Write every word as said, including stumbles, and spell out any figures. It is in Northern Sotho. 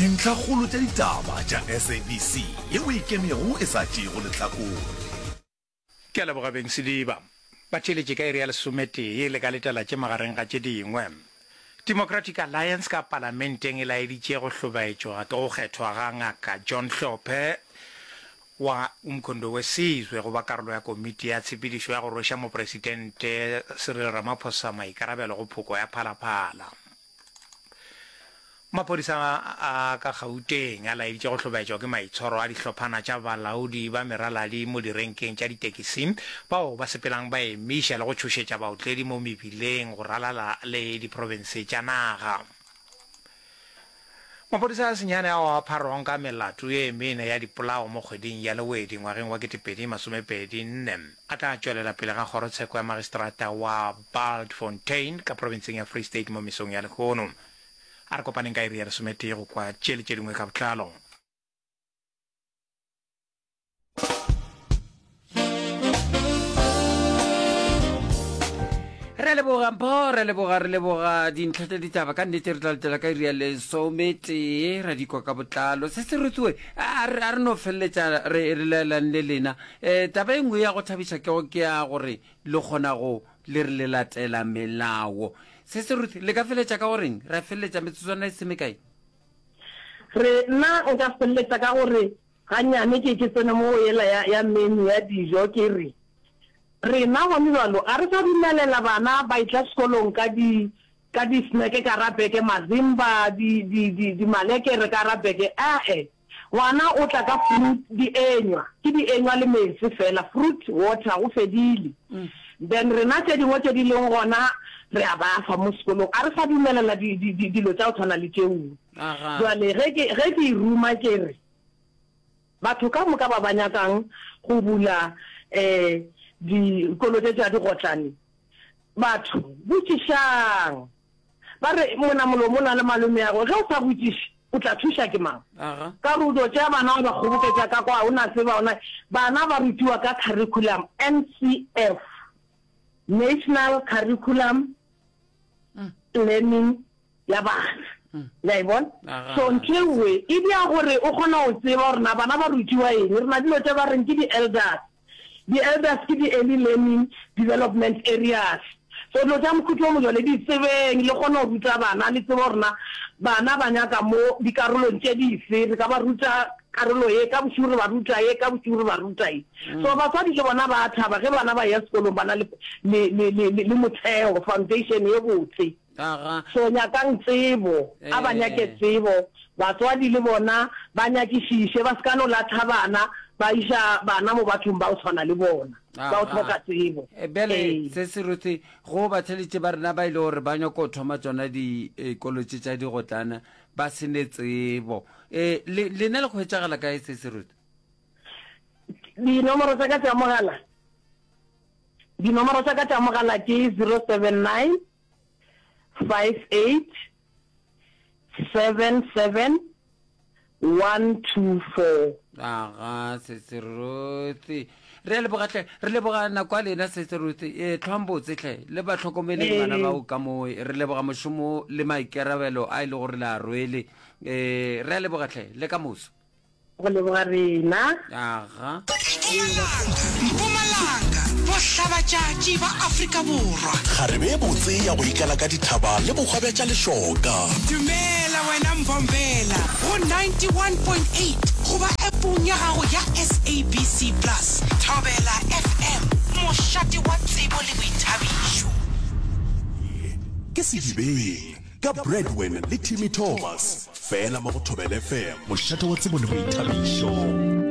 Dintlhakgolo tša ditaba tša S A B C yeo e ikemego e sa tšeego lehlakore. Ke a leboga beng Sediba. Ba theeletše ka iri ya lesometee le ka letela tše magareng ga tše dingwe. Democratic Alliance ka palamenteng e laeditše go hlobaetšwa ke go kgethwa ga Ngaka John Hlophe wa Umkhonto we Sizwe go ba karolo ya komiti ya tshepedišo ya go rweša mopresidente Cyril Ramaphosa maikarabelo go phoko ya Phalaphala. Maphodisa a ka Gauteng a laeditše go hlobaetšwa ke maitshwaro a dihlophana tša balaodi ba meraladi mo direnkeng tša ditekisi bao ba sepelang ba emiša le go tšhošetša baotledi mo mebileng go ralala le diprofense tša naga. Maphodisa a senyane ao a pharwang ka melato ye mene ya dipolao mo kgweding ya Lewedi ngwageng wa ketepedi masomepedi nne a tla tšwelela pele ga kgorotsheko ya magistrata wa Bultfontein ka profenseng ya Free State mo mesong ya lehono. A re kopaneng ka iri ya lesometee go kwa tše le tše dingwe ka botlalo. Re a leboga Mpho, re a leboga, re leboga dintlha tša ditaba. Ka nnete re tla letela ka iri ya lesometee ra di kwa ka botlalo. Se se rutiwe, a re a re no feleletša re re laelane le lena. Um taba e nngwe ya go thabiša ke go ke ya gore le kgona go le re le latela melao. Se se Ruth, le ka feletša ka go reng? Ra feleletša metsotswana e se mekae? Re, nna nka feleletša ka gore gannyane ke, ke tsene mo go yela ya, ya menu ya dijo, ke re, rena gone bjalo ga re sa dumelela bana ba etla sekolong ka di, ka di snack ka ra beke, mazimba, di, di, di, di malekere ka ra beke, ae. Ngwana o tla ka fruit, dienywa, ke dienywa le meetse fela, fruit, water, go fedile. Then rena tše dingwe tše di leng gona re a ba fa mo sekolong, a re sa dumelela di, di, di, dilo tša go tshwana le tšeo. Jwale ge ke, ge ke e ruma ke re, batho ka moka ba ba nyakang go bula um dikolo tše tša digotlane, batho botšišang. Ba re, Monamolomo o na le malomeago, ge o sa botšiše, o tla thuša ke mang? Ka re o dio tšea bana wa ba kgoboketša ka kwa, o na tseba, o na. Bana ba rutiwa ka curriculum, N C F, National Curriculum Learning ya bana. Le a e bona? So ntho e nngwe e dia gore o kgona go tseba gore na bana ba rutiwa eng. Re na dilo tše ba reng ke di-elders. Di-elders ke di-early learning development areas. So dilo tša mohuta o mojalo di tsebeng, le kgone go ruta bana, le tsebe gore na bana ba nyaka mo dikarolong tše dife. Re ka ba ruta karolo ye, ka bošego re ba ruta ye, ka bošego re ba ruta ye. So batswadi le bona ba a thaba ge bana ba eya sekolong ba na le, le, le, le, le motheo, foundation ye botse. Aga. So nyakang tsebo, a ba nyake Eh. tsebo, batswadi le bona ba nyakišiše, ba se ka no latha bana, ba iša bana mo bathong ba go tshwana le bona, ba go Aga. hloka tsebo. Eh, bjale Ee. se se Ruth, go batheletše ba rena ba ile gore ba nyako thoma tšona dikolo tše tša digotlana ba se ne tsebo, um le lena le hwetšagala kae se se Ruth? Dinomoro tša ka tša mogala, dinomoro tša ka tša mogala ke zero seven nine five eight seven seven one two four. Aga, Sesi Ruth, re a leboga hle, re leboga nako ya lena Sesi Ruth. E tlhwang botse hle, le ba hlokomeleng bana Ee. bao ka moo. Re leboga mošomo le maikarabelo a e le gore le a rwele. E re a leboga hle, le ka moso. Go leboga rena. Aga. Mpumalanga, Mpumalanga, bohlabatšatši ba Afrika Borwa. Kgarebe e botse ya go ikala ka dithaba le bohwa bja tša lešoka. Dumela wena Mbombela go ninety-one point eight goba appong ya gago ya S A B C Plus. Thobela F M, mošate wa tsebo le boithabišo. Ke Sedibeng ka Bradwin le Timmy Thomas, fela mo go Thobela F M, mošate wa tsebo le boithabišo.